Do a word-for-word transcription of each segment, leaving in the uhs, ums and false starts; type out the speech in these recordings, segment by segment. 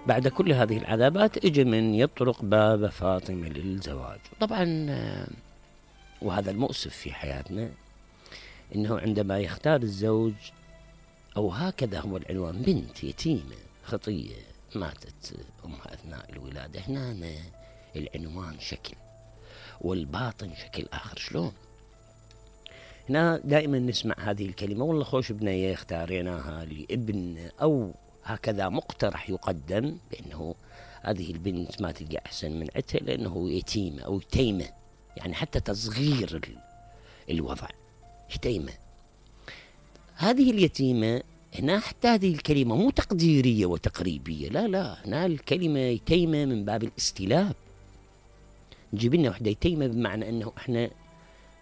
بعد كل هذه العذابات اجى من يطرق باب فاطمة للزواج. طبعا وهذا المؤسف في حياتنا، انه عندما يختار الزوج، او هكذا هو العنوان، بنت يتيمة خطية ماتت امها اثناء الولادة، هنا العنوان شكل والباطن شكل اخر. شلون؟ هنا دائما نسمع هذه الكلمة، والله خوش بنية اختاريناها لابن، او هكذا مقترح يقدم بانه هذه البنت ما تلقى احسن من عتها لانه يتيمة او يتيمة، يعني حتى تصغير الوضع يتيمة. هذه اليتيمة هنا حتى هذه الكلمة مو تقديرية وتقريبية، لا لا، هنا الكلمة يتيمة من باب الاستلاب. نجيب لنا وحدة يتيمة بمعنى انه احنا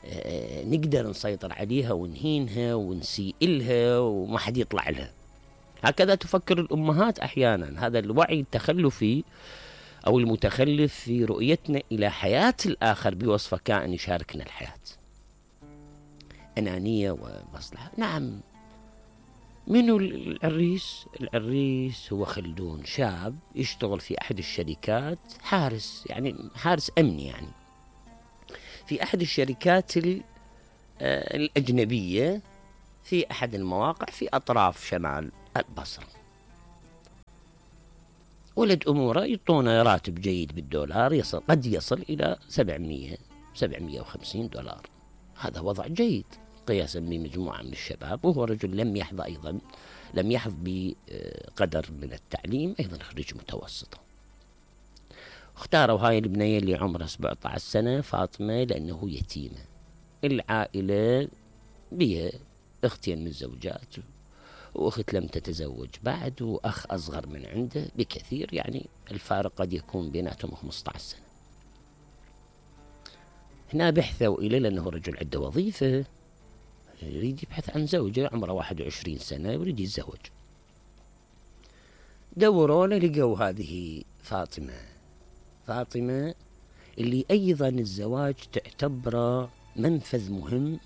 اه نقدر نسيطر عليها ونهينها ونسيء لها وما حد يطلع لها. هكذا تفكر الامهات احيانا. هذا الوعي التخلفي او المتخلف في رؤيتنا الى حياة الاخر بوصفه كائن يشاركنا الحياة، انانية ومصلحة. نعم، منو العريس؟ العريس هو خلدون، شاب يشتغل في احد الشركات، حارس، يعني حارس امني، يعني في احد الشركات الاجنبية في احد المواقع في اطراف شمال البصرة. ولد اموره يعطونه راتب جيد بالدولار، يصل قد يصل الى سبعمية سبعمية وخمسين دولار. هذا وضع جيد قياسا بمجموعة من الشباب، وهو رجل لم يحظى ايضا لم يحظ بقدر من التعليم، ايضا خريج متوسطة. اختاروا هاي البنية اللي عمرها سبعة عشر سنة فاطمة لانه يتيمة. العائلة بها اختين من الزوجات، واخت لم تتزوج بعد، واخ اصغر من عنده بكثير، يعني الفارق قد يكون بيناتهم خمسة عشر سنة. هنا بحثوا اليه لانه رجل عنده وظيفة، يريد يبحث عن زوجة عمره واحد وعشرين سنة يريد يتزوج. دوروا له لقوا هذه فاطمة. فاطمة اللي ايضا الزواج تعتبره منفذ مهم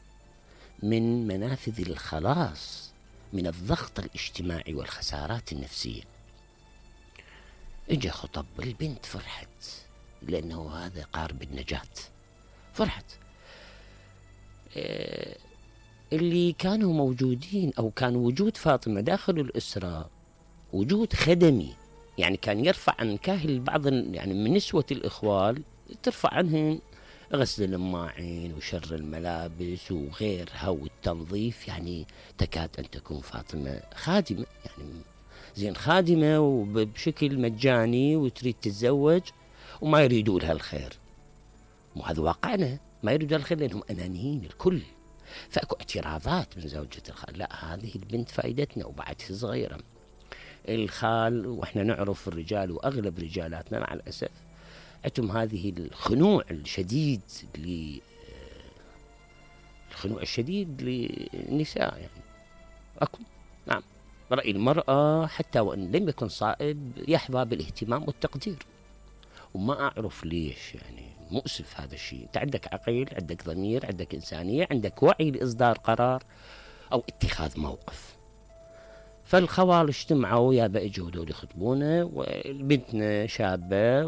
من منافذ الخلاص من الضغط الاجتماعي والخسارات النفسية. اجا خطب، البنت فرحت لانه هذا قارب النجاة، فرحت. إيه اللي كانوا موجودين او كان وجود فاطمة داخل الاسرة وجود خدمي، يعني كان يرفع عن كاهل بعض يعني من نسوة الاخوال، ترفع عنهن غسل الماعين وشر الملابس وغيرها والتنظيف. يعني تكاد أن تكون فاطمة خادمة، يعني زين خادمة وبشكل مجاني وتريد تتزوج وما يريدوا لها الخير. مو هذا واقعنا، ما يريدوا الخير لأنهم أنانيين الكل. فأكو اعتراضات من زوجة الخال، لا هذه البنت فائدتنا وبعد صغيرة. الخال، وإحنا نعرف الرجال وأغلب رجالاتنا مع الأسف عندهم هذه الخنوع الشديد ل الخنوع الشديد للنساء، يعني أكو نعم رأي المرأة حتى وإن لم يكن صائب يحظى بالاهتمام والتقدير، وما أعرف ليش. يعني مؤسف هذا الشيء. أنت عندك عقل، عندك ضمير، عندك إنسانية، عندك وعي لإصدار قرار أو اتخاذ موقف. فالخوال اجتمعوا يا بقى جهدوا يخطبونه، والبنتنا شابة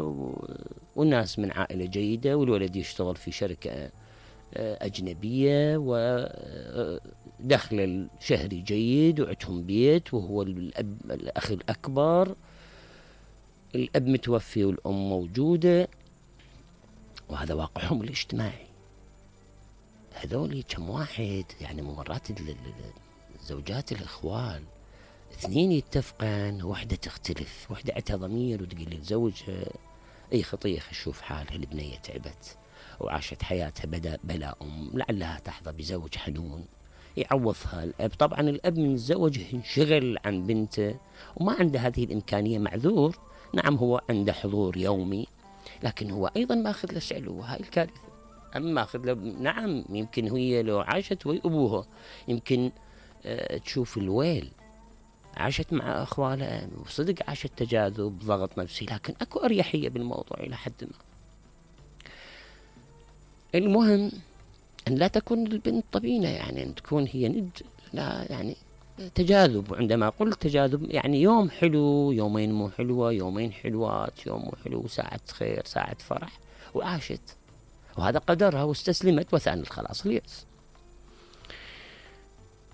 والناس من عائلة جيدة، والولد يشتغل في شركة أجنبية ودخل الشهري جيد وعندهم بيت، وهو الأب الأخ الأكبر، الأب متوفي والأم موجودة، وهذا واقعهم الاجتماعي. هذول كم واحد يعني مرات زوجات الإخوال اثنين يتفقن، وحدة تختلف، وحدة عندها ضمير وتقول لزوجها اي خطية شوف حالها، البنية تعبت وعاشت حياتها بدا بلا أم، لعلها تحظى بزوج حنون يعوضها الأب. طبعا الأب من الزوج انشغل عن بنته وما عنده هذه الإمكانية، معذور. نعم هو عنده حضور يومي، لكن هو أيضا ماخذ له سعل، وهاي الكارثة. أما ماخذ له، نعم يمكن هي لو عاشت ويا أبوها يمكن آه تشوف الويل، عاشت مع أخوالها وصدق عاشت تجاذب ضغط نفسي، لكن أكو أريحية بالموضوع إلى حد ما. المهم أن لا تكون البنت طبينة، يعني أن تكون هي ند، لا يعني تجاذب، عندما قلت تجاذب يعني يوم حلو، يومين مو حلوة، يومين حلوات، يوم مو حلو، ساعة خير، ساعة فرح، وعاشت، وهذا قدرها واستسلمت، وثاني الخلاص اليأس.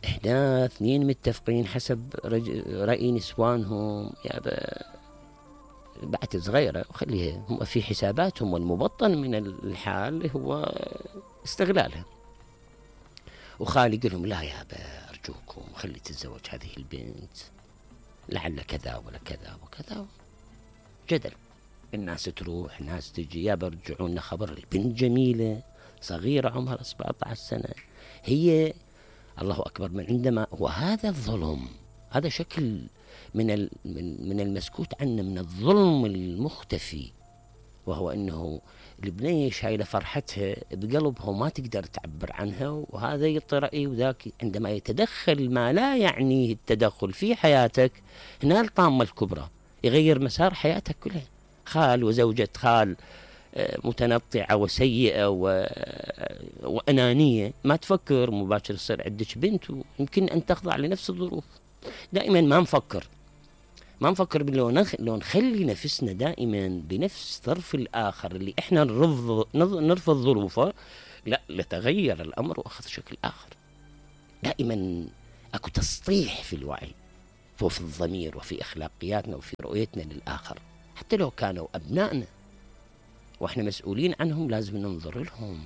احنا اثنين متفقين حسب رأي نسوانهم، يا بعد صغيرة وخليها هم في حساباتهم، والمبطن من الحال هو استغلالها. وخالي يقول لهم لا يا أرجوكم خلي تتزوج هذه البنت، لعل كذا ولا كذا وكذا. جدل، الناس تروح ناس تجي، يا برجعوا لنا خبر البنت جميلة صغيرة عمرها سبعة عشر سنة، هي الله أكبر من عندما، وهذا الظلم، هذا شكل من من من المسكوت عنه، من الظلم المختفي، وهو أنه البنية شايلة فرحتها بقلبها وما تقدر تعبر عنها، وهذا يطرئي وذاك. عندما يتدخل ما لا يعنيه التدخل في حياتك، هنا الطامة الكبرى، يغير مسار حياتك كلها. خال وزوجة خال متنطعة وسيئة وأنانية، ما تفكر مباشر يصير عندك بنت ويمكن أن تخضع لنفس الظروف. دائما ما نفكر ما نفكر باللو نخ... لو نخلي نفسنا دائما بنفس ظرف الآخر اللي احنا نرفض نرفض ظروفه، لا لتغير الأمر وأخذ شكل آخر. دائما أكو تسطيح في الوعي وفي الضمير وفي أخلاقياتنا وفي رؤيتنا للآخر، حتى لو كانوا أبنائنا وإحنا مسؤولين عنهم، لازم ننظر لهم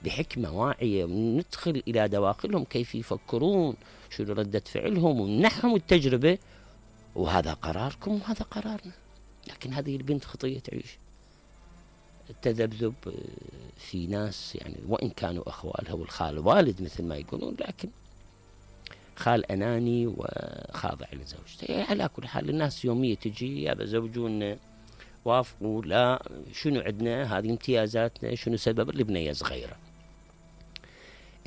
بحكمة واعية، وندخل إلى دواخلهم كيف يفكرون، شنو ردة فعلهم، ونمنحهم التجربة، وهذا قراركم وهذا قرارنا. لكن هذه البنت خطية تعيش التذبذب في ناس، يعني وإن كانوا أخوالها والخال والد مثل ما يقولون، لكن خال أناني وخاضع لزوجته. على كل حال الناس يومية تجي يا زوجون وافقوا، لا شنو عندنا، هذه امتيازاتنا، شنو سبب البنية صغيرة.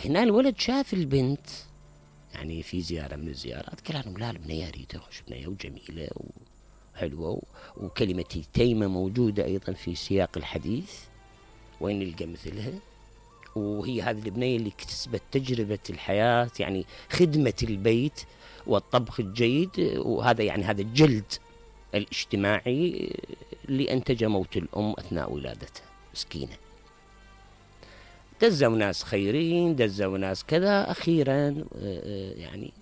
هنا الولد شاف البنت يعني في زيارة من الزيارات، قال لهم لا البنية ريتها خوش بنية وجميلة وحلوة، وكلمة تيمة موجودة أيضا في سياق الحديث، وين نلقى مثلها؟ وهي هذه البنية اللي اكتسبت تجربة الحياة، يعني خدمة البيت والطبخ الجيد، وهذا يعني هذا الجلد الاجتماعي اللي أنتج موت الأم أثناء ولادتها مسكينة. دزوا ناس خيرين، دزوا ناس كذا، أخيرا يعني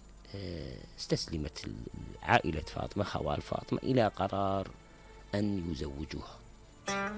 استسلمت عائلة فاطمة، خوال فاطمة، إلى قرار أن يزوجوها.